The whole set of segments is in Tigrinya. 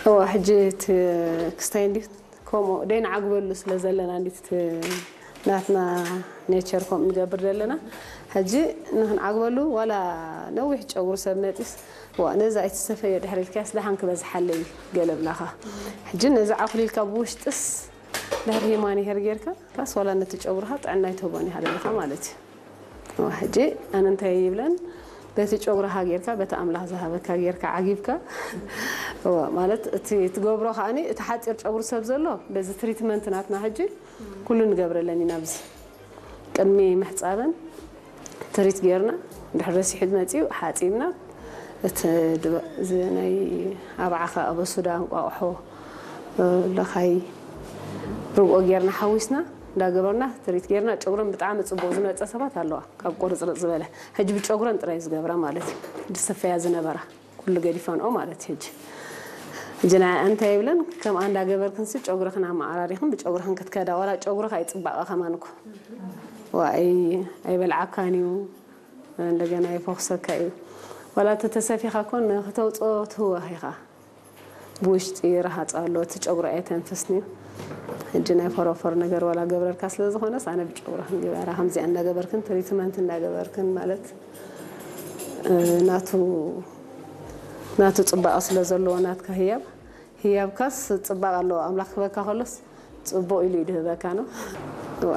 እዋ ሕጂ እቲ ክስታይ እንዲ ከምኡ ደይንዓግበሉ ስለ ዘለና እንዲ እቲ ናትና ኔቸር ከምኡ ንገብር ዘለና። ሕጂ ንክንዓግበሉ ዋላ ነዊሕ ጨጉሪ ሰብ መጢስ ዋ ነዛ ኣይትሰፈዮ ድሕሪ ኢልካስ ደሓን ክበዝሓለይ ገለ ብላኻ። ሕጂ ነዚ ዓኹሊልካ ብውሽጥስ ድሕሪ ሂማን ይሄር ጌርካ ካስ ዋላ ነቲ ጨጉርኻ ጥዕና ይትህቦን ይሃለልካ ማለት እዩ። እዋ፣ ሕጂ ኣነ እንታይ ይብለን በቲ ጨጉርኻ ጌርካ በቲ ኣምላኽ ዝሃበካ ጌርካ ዓጊብካ እዋ፣ ማለት እቲ ትገብሮ ከዓኒ እቲ ሓፂር ጨጉሪ ሰብ ዘሎ በዚ ትሪትመንት ናትና ሕጂ ኩሉ ንገብረለን ኢና ኣብዚ ቅድሚ ምሕፃበን ትሪት ጌርና ድሕሪ ረሲሑ መፂኡ ሓፂብና እቲ ድበ- እዚ ናይ ኣባዓኸ ኣበሱዳ እንቋቑሖ ለኻይ ርግኦ ጌርና ሓዊስና እንዳገበርና ትሪት ጌርና ጨጉረን ብጣዕሚ ፅቡቅ ዝመፀ ሰባት ኣለዋ ካብ ቁርፅርፅ ዝበለ ሕጂ ብጨጉረን ጥራይ ዝገብራ ማለት እዩ ዝሰፈያ ዝነበራ ኩሉ ገዲፈንኦ ማለት እዩ ሕጂ ሕጂ ናይ እንታይ ይብለን ከምኣ እንዳገበርክንሲ ጨጉርኽን ኣመዓራሪኽን ብጨጉርኽን ክትከዳ ዋላ ጨጉርኽ ኣይፅባቐ ከማን እኮ ዋ ኣይ- ኣይበልዓካን እዩ እንደገና ይፈኹሰካ እዩ ዋላ ተተሰፊኻ ኮን ክተውፅኦ ትህወኽ ኢኻ ብውሽጢ ረሃፅ ኣሎ እቲ ጨጉሪ ኣይተንፍስን እዩ ሕጂ ናይ ፈሮፈር ነገር ዋላ ገብረልካ ስለ ዝኾነስ ኣነ ብጨጉርኽን ግበራ ከምዚኣ እንዳገበርክን ትሪትመንት እንዳገበርክን ማለት ናቱ ናቱ ፅባቐ ስለ ዘለዎ ናትካ ህያብ ህያብካስ ፅባቐ ኣለዎ ኣምላኽ ክበካ ከሎስ ፅቡቕ ኢሉ እዩ ድህበካ ነው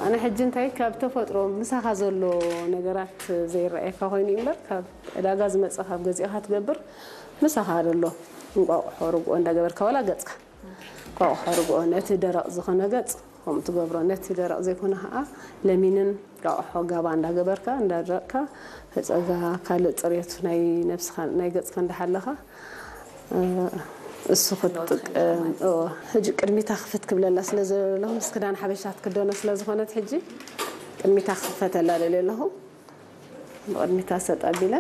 ኣነ ሕጂ እንታይ ካብ ተፈጥሮ ምሳኻ ዘሎ ነገራት ዘይረኣየካ ኮይኑ እዩ እምበር ካብ ዕዳጋ ዝመፀ ካብ ገዚእኻ ትገብር ምሳኻ ዘሎ እንቋቑሖ ርግኦ እንዳገበርካ ዋላ ገፅካ እንቋቑሖ ርግኦ ነቲ ደረቕ ዝኾነ ገፅ ከምኡ ትገብሮ ነቲ ደረቕ ዘይኮነ ከዓ ለሚንን እንቋቑሖ ጋባ እንዳገበርካ እንዳደረቕካ ፈፀጋ ካልእ ፅሬቱ ናይ ነብስኻ ናይ ገፅካ እንዳሓለኻ እሱ ክትጥቀም ሕጂ ቅድሚታ ክፍት ክብለላ ስለ ዘለኹ ምስ ክዳን ሓበሻ ትክደኖ ስለ ዝኾነት ሕጂ ቅድሚታ ክኽፈተላ ደልየ ኣለኹ ብቅድሚታ ሰጥ ኣቢለ